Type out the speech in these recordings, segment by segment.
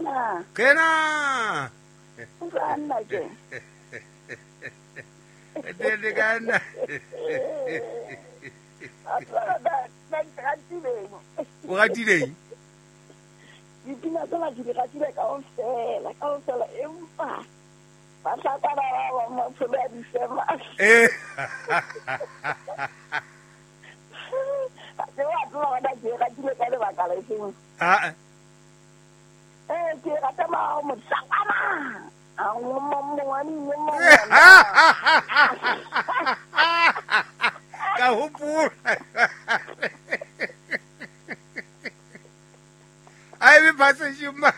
Kwena. Kena. Nna ke. Tele kana. O ratile? Dipina tsena ke di ratile kaofela, kaofela empa bahlakwana ba bang maphelo a disema. Eh. Ke wa tseba hore na ke e ratile ka lebaka le feng? Ah. Eh, ke rata ma mohlakwana. A Ka hopola. Ai me passa demais.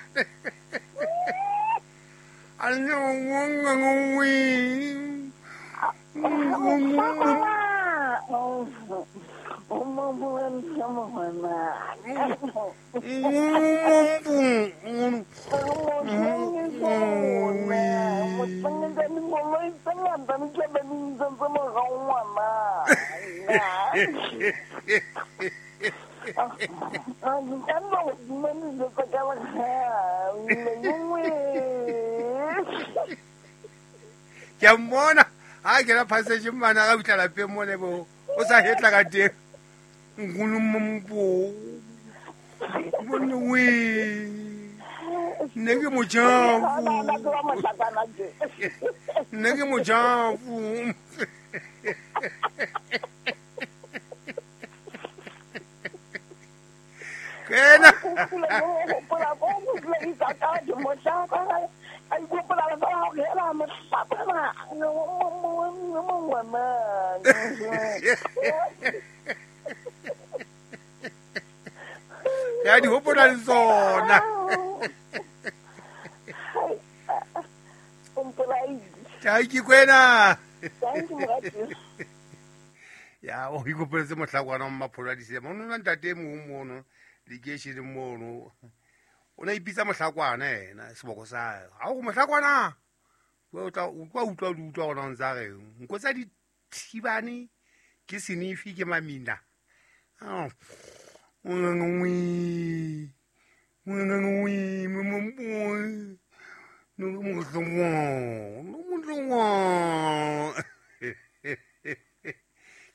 Ke a mmona ha ke la passage mana ga utla lapeng mone bo o sa hetla ka teng nkgono bone we nne ke mojafo nne ke mojafo kena ya di hopola le tsona. Thank you Kwena. Ya o ikopoletse mohlakwana wa mapholo a disema. O nona ntate mong mono lekeisheneng mono. O ne ipitsa mohlakwana yena seboko sa hae. Ha o mohlakwana. O tla utlwa utlwa utlwa gona o ntsa reng. Nko tsa dithibane ke senifi ke mamina.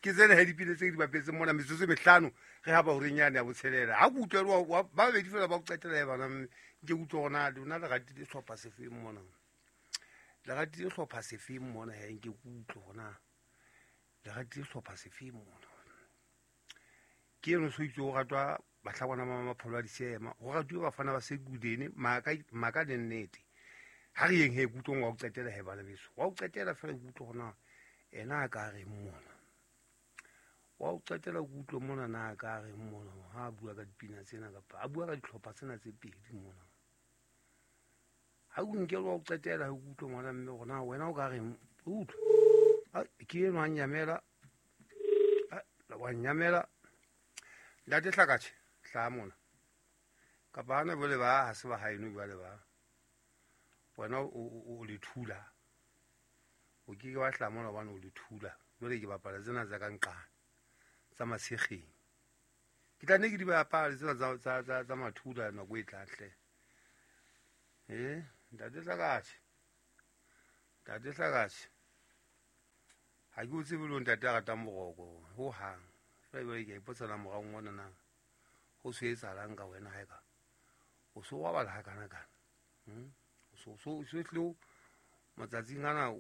Ke tsena he dipina tse di bapetseng mona metsotso e mehlano re ha ba horeng yane ya botshelela. Ha ke utlwe ba babedi fela ba o qetela he bana nke utlwe gona lona le ratile sehlopha sefeng mona. Le ratile sehlopha sefeng mona he nke ke utlwe gona. Le ratile sehlopha sefeng mona. Ke eno so itse o ratwa bahlakwana ba mapholo a disema. Ho ratuwe bafana ba Sekudene maka le nnete. Ha re yeng he ke utlwe wa o qetela he bana beso. Wa o qetela fela ke utlwe gona ena a ka reng mona. Wa o qetela ke utlwe mona na a ka reng mona ha a bua ka dipina tsena kapa a bua ka dihlopha tsena tse pedi mona. Ha o nke wa o qetela ke utlwe ngwana mme gona wena o ka reng utlwe. Ke eno a nyamela. Wa nyamela. Ntate Hlakatjhe hla mona. Kapa hana jwale ba ha se ba haeno jwale ba. Wena o le thula. O ke ke wa hla mona hobane o le thula. Jwale ke bapala tsena tsa ka nqane tsa matshekgeng. Ke tla nne ke di bapale tsena tsa mathula nako e tlang hle. Eh, ntate Hlakatjhe. Ntate Hlakatjhe. Ha ke o tsebe le ntate a ratang boroko ho hang. Fela ke ipotsa la morao ngwana na ho se etsahalang ka wena ha eka o so wa bala kana kana. So so so tlo matsatsing ana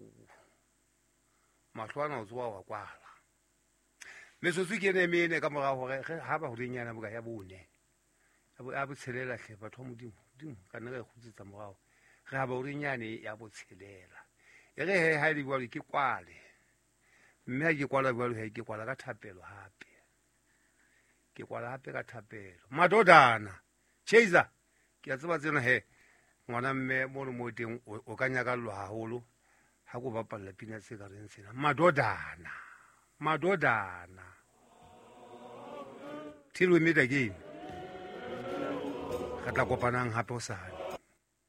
mahlo ana o tsoa wa kwala. Metsotso ke ene mene ka mora hore ha ba horeng yana boka ya bone. Ya botshelela hle batho ba Modimo. Modimo ka nna re kgutsetsa morao. Re ha ba horeng yane ya botshelela. E re he ha le bua ke kwale. Mme ha ke kwala jwalo he ke kwala ka thapelo hape. Ke kwala hape ka thapelo. Madodana. Chaser. Ke a tseba tsena he ngwana mme mono mo teng o ka nyakallwa haholo ha ko bapalla pina tse ka reng tsena. Madodana. Madodana. Till we meet again. Re tla kopanang hape hosane.